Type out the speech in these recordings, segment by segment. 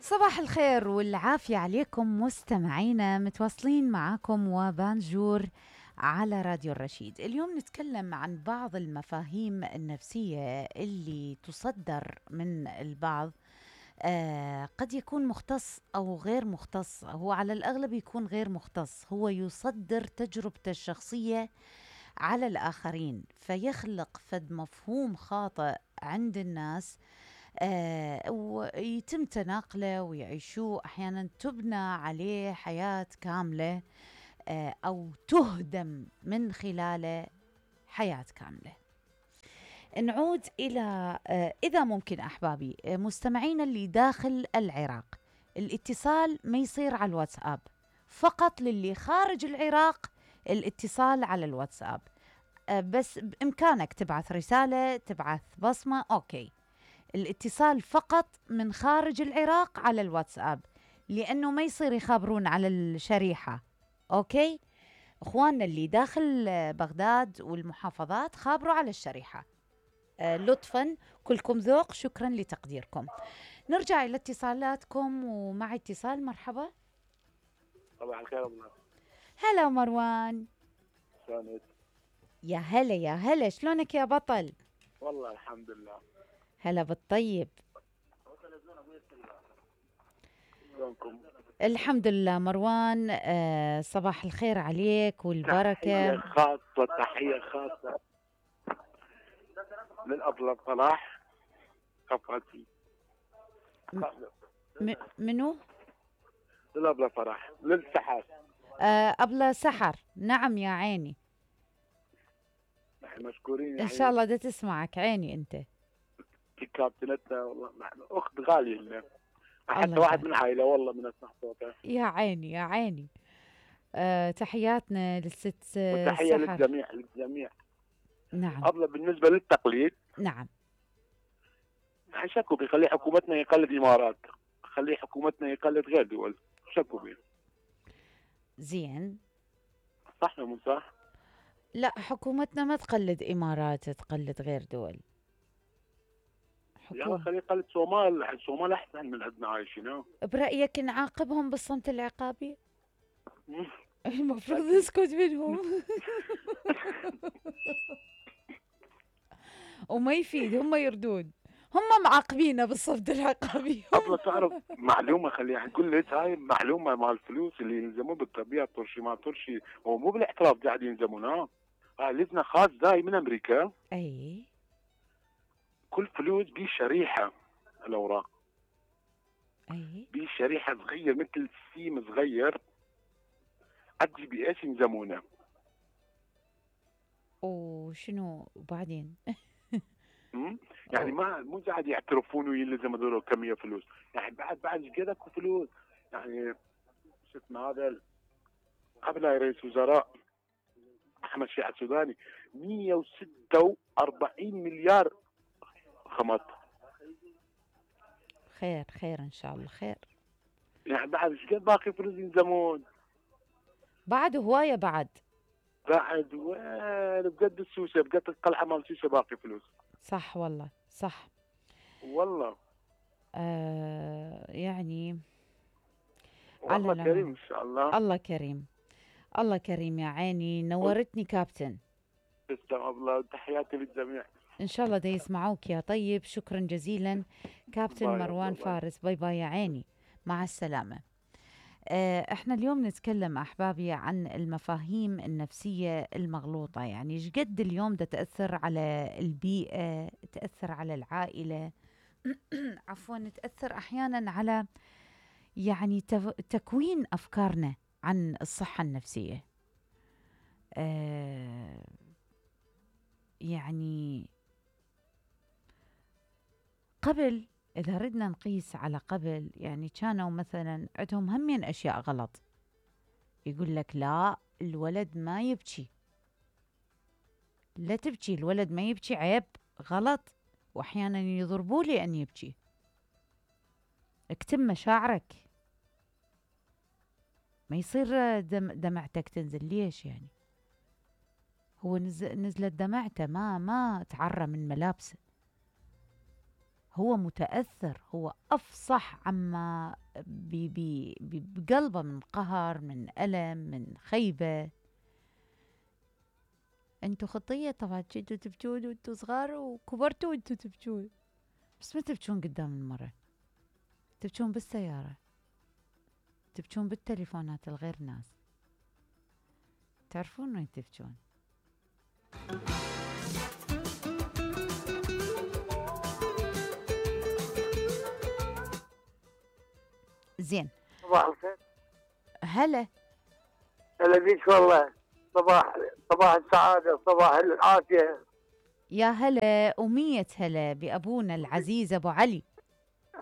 صباح الخير والعافية عليكم مستمعينا، متواصلين معاكم وبانجور على راديو الرشيد. اليوم نتكلم عن بعض المفاهيم النفسية اللي تصدر من البعض. قد يكون مختص أو غير مختص، هو على الأغلب يكون غير مختص، هو يصدر تجربته الشخصية على الآخرين فيخلق فد مفهوم خاطئ عند الناس، ويتم تناقله ويعيشوه. أحيانا تبنى عليه حياة كاملة، أو تهدم من خلاله حياة كاملة. نعود إلى إذا ممكن أحبابي مستمعين اللي داخل العراق، الاتصال ما يصير على الواتساب، فقط للي خارج العراق الاتصال على الواتساب. بس بإمكانك تبعث رسالة، تبعث بصمة، أوكي. الاتصال فقط من خارج العراق على الواتساب، لأنه ما يصير يخابرون على الشريحة. أوكي أخواننا اللي داخل بغداد والمحافظات خابروا على الشريحة. لطفا كلكم ذوق، شكرا لتقديركم. نرجع إلى اتصالاتكم، ومع اتصال. مرحبا. صباح الخير أبو ناصر. هلا مروان. شلونك؟ يا هلا يا هلا، شلونك يا بطل؟ والله الحمد لله. هلا بالطيب. شلونكم؟ الحمد لله مروان. صباح الخير عليك والبركة. تحية خاصة للأبلة صلاح قفاتي. منو؟ للأبلة صلاح للسحر. أبلة سحر، نعم يا عيني. نحن مشكورين إن شاء الله دا تسمعك عيني أنت. كابتنتنا والله أخت غالية لنا، حتى واحد من عائلة والله من أسمع صوتها. يا عيني يا عيني. تحياتنا للست وتحية سحر. للجميع. نعم. أبلة بالنسبة للتقليد، نعم، شكوا بيخلي حكومتنا يقلد إمارات، خلي حكومتنا يقلد غير دول، شكوا بيه. زين، صح ولا مو صح؟ لا، حكومتنا ما تقلد إمارات، تقلد غير دول. يلا خليه يقلد صومال، الصومال أحسن من عندنا عايشين. برأيك نعاقبهم بالصمت العقابي؟ المفروض نسكت منهم. وما يفيد، هم يردون، هم معاقبينه بالصمت العقابي. أبلا تعرف معلومة، خليها نقول لك هاي معلومة مال الفلوس اللي ينزمون بالطبيعة، طرشي ما طرشي، هو مو بالاحتراف قاعد ينزمون. هاي لجنة خاص جاي من أمريكا. أي كل فلوس بيه شريحة الأوراق. أي بيه شريحة صغير مثل سيم صغير أدي بإيش ينزمونه. وشنو بعدين؟ يعني ما مو قاعد يعترفون ويلزم هذول كمية فلوس، يعني بعد كذا فلوس. يعني شو اسمه هذا قبل رئيس وزراء احمد شيع السوداني 146 مليار خمط. خير خير ان شاء الله خير. يعني بعد ايش قد باقي فلوس ينزمون؟ بعد هوايه بعد وين بقد السوسه، بقد القلعه مال السوسه باقي فلوس. صح والله صح والله. يعني الله كريم ان شاء الله. الله كريم، الله كريم يا عيني. نورتني كابتن. تسلم الله، تحياتي للجميع. ان شاء الله دا يسمعوك يا طيب. شكرا جزيلا كابتن مروان فارس. باي باي يا عيني، مع السلامة. احنا اليوم نتكلم احبابي عن المفاهيم النفسية المغلوطة. يعني ايش قد اليوم دا تأثر على البيئة، تأثر على العائلة، عفوا تأثر احيانا على يعني تكوين افكارنا عن الصحة النفسية. يعني قبل إذا ردنا نقيس على قبل، يعني كانوا مثلا عندهم همين أشياء غلط. يقول لك لا الولد ما يبكي، لا تبكي، الولد ما يبكي، عيب، غلط. وأحيانا يضربوا لي أن يبكي، اكتم مشاعرك، ما يصير دمعتك تنزل. ليش يعني؟ هو نزلت دمعته، ما تعرى من ملابسه، هو متأثر، هو أفصح عما بقلبه من قهر، من ألم، من خيبة. انتو خطية طبعا، كنتوا تبكون وانتو صغار وكبرتوا وانتو تبكون، بس ما تبكون قدام المرة، تبكون بالسيارة، تبكون بالتليفونات الغير ناس، تعرفون وين تبكون. زين. صباح الخير. هلا. هلا بيك والله. صباح السعادة، صباح العافية. يا هلا ومية هلا بأبونا العزيز أبو علي.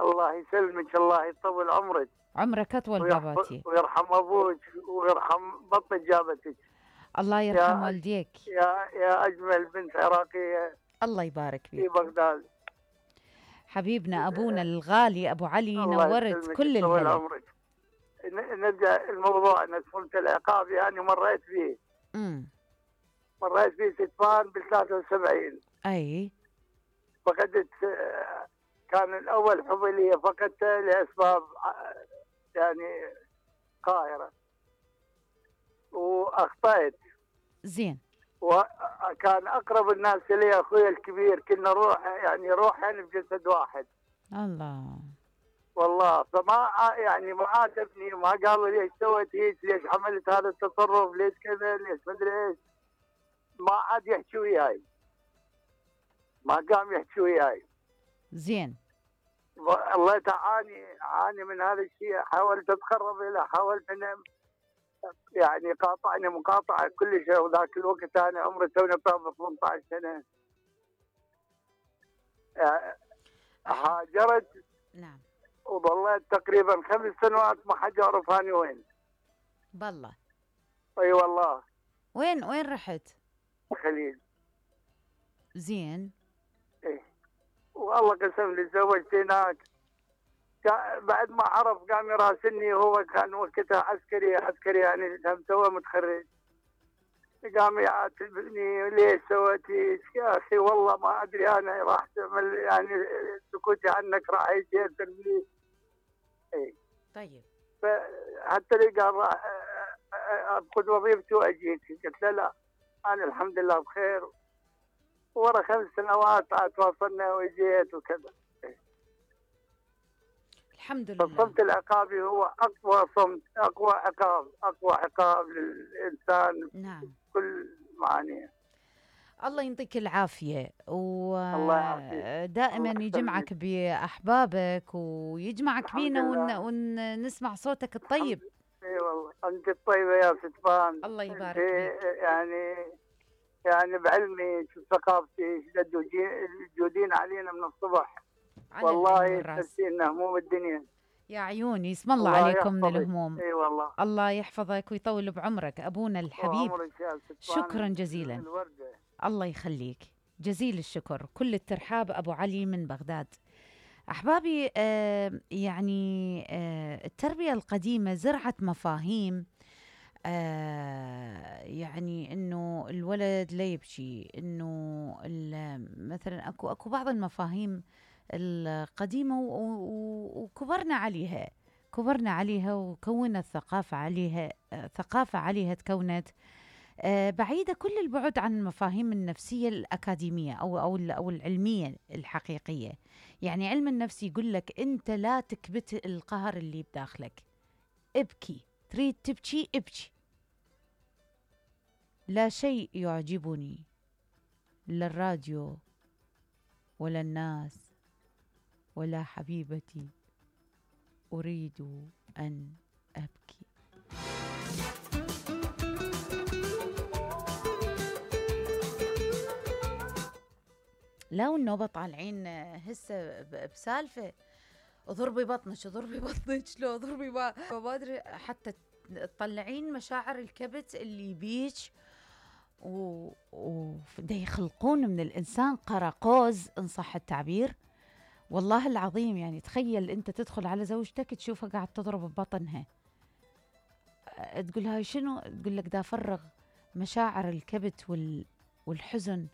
الله يسلمك، الله يطول عمرك. عمرك أطول باباتي. ويرحم أبوك ويرحم بطن جابتك. الله يرحم والديك. يا أجمل بنت عراقية. الله يبارك فيك. في بغداد. حبيبنا أبونا الغالي أبو علي، نورت كل الهلا. نرجع الموضوع. أنا سفلت العقاب يعني مريت فيه. مريت فيه ستفان بال73. أي. فقدت، كان الأول حبلية فقدته لأسباب يعني قاهرة وأخطأت. زين. وكان أقرب الناس لي أخوي الكبير، كنا روحين بجسد واحد. الله. والله فما يعني ما عاتبني، ما قالوا ليش سويت هيك، ليش عملت هذا التصرف، ليش كذا، ليش مدري ايش. ما عاد يحكي وياي، ما قام يحكي وياي. زين. الله تعاني من هذا الشيء. حاولت اتقرب له، حاولت انه يعني قاطعني مقاطعه كل شيء. وذاك الوقت انا عمري توني طابق 18 سنه. هاجرت. نعم. وظليت تقريبا 5 سنوات ما حد يعرف اني وين. بالله. اي والله. وين رحت؟ الخليج. زين. ايه. والله قسم لي تزوجت هناك. بعد ما عرف قام يراسلني، هو كان وقتها عسكري يعني توه متخرج. قام يعاتبني ليش سويتي يا اخي، والله ما ادري انا راح تعمل يعني سكوتي عنك راح يأثر لي. اي. طيب. فحتى لي قال راح اخذ وظيفتي واجيك. قلت له لا، انا الحمد لله بخير. ورا 5 سنوات تواصلنا وجيت وكذا. الحمد لله. فالصمت العقابي هو اقوى صمت، اقوى عقاب للانسان. نعم. كل معانيه. الله يعطيك العافية، ودائما يجمعك بأحبابك ويجمعك بينا ونسمع صوتك الطيب. اي والله انت الطيبة يا ستفان. الله يبارك فيك. يعني بعلمي ثقافتي جودين علينا من الصبح. والله تحسين هموم الدنيا. يا عيوني اسم الله عليكم من الهموم. اي والله. الله يحفظك ويطول بعمرك أبونا الحبيب. شكرا جزيلا. الوردة. الله يخليك، جزيل الشكر. كل الترحاب أبو علي من بغداد. أحبابي، يعني التربية القديمة زرعت مفاهيم، يعني إنه الولد لا يبكي، إنه مثلا أكو بعض المفاهيم القديمة وكبرنا عليها وكونت ثقافة عليها تكونت بعيدة كل البعد عن المفاهيم النفسية الأكاديمية أو العلمية الحقيقية. يعني علم النفس يقول لك أنت لا تكبت القهر اللي بداخلك، ابكي، تريد تبكي ابكي. لا شيء يعجبني، لا الراديو ولا الناس ولا حبيبتي، أريد أن أبكي. لو النوبة طالعين هسه بسالفة اضربي بطنك لو اضربي ما ادري، حتى تطلعين مشاعر الكبت اللي بيك ودا يخلقون من الإنسان قراقوز إن صح التعبير. والله العظيم يعني تخيل أنت تدخل على زوجتك تشوفها قاعد تضرب ببطنها، تقول هاي شنو؟ تقول لك دا أفرغ مشاعر الكبت والحزن.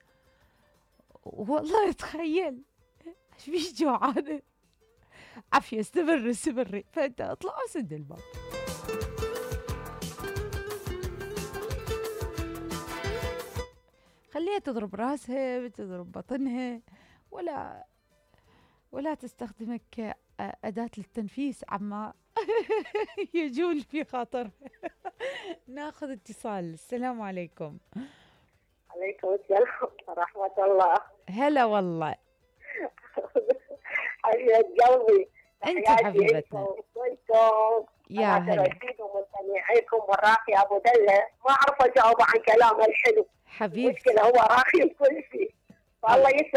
والله تخيل ايش بيش جوعانة؟ عافية، استمري. فانت اطلع وسد الباب. خليها تضرب راسها، تضرب بطنها، ولا تستخدمك كأداة للتنفيس عما يجول في خاطر. ناخذ اتصال. السلام عليكم. عليكم السلام ورحمة الله. هلا والله. حبيبة قلبي، انت حبيبتنا. يا هلا. ومستمعيكم والراقي ابو دله، ما اعرف اجاوب عن كلامه الحلو. حبيبتي. المشكلة هو راقي كل شيء. والله يسعد